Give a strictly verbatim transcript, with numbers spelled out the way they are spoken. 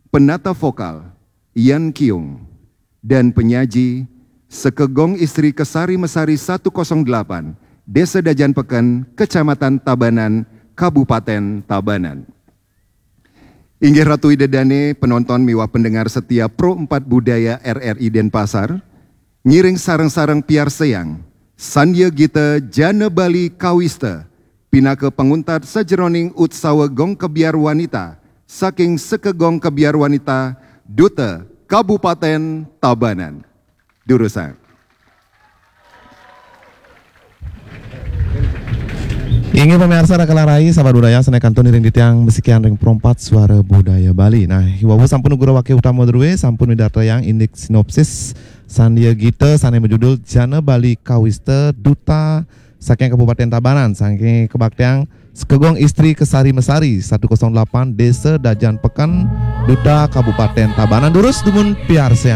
Penata vokal, Ian Kiung. Dan penyaji, Sekegong Istri Kesari Mesari satu kosong delapan, Desa Dajan Peken, Kecamatan Tabanan, Kabupaten Tabanan. Inggih Ratu Ida Dane, penonton miwah pendengar setia Pro empat Budaya R R I Denpasar, ngiring sareng-sareng piarsayang Sandya Gita Jana Bali Kawista, pinaka panguntat sajeroning utsawa Gong Kebyar Wanita saking Sekegong Kebyar Wanita, Duta Kabupaten Tabanan. Durusang. Inggih pamiarsa, raka rai, sahabat budaya, sane kantun iring titiang masikian ring Pro empat Suara Budaya Bali. Nah, iwau sampun ugra wakil utama druwe, sampun midartayang indik sinopsis Sandya Gita sane majudul Jana Bali Kawista, Duta saking Kabupaten Tabanan, saking kabaktiang Sekegong Istri Kesari Mesari satu kosong delapan, Desa Dajan Peken, Duta Kabupaten Tabanan. Durus dumun piarsayang.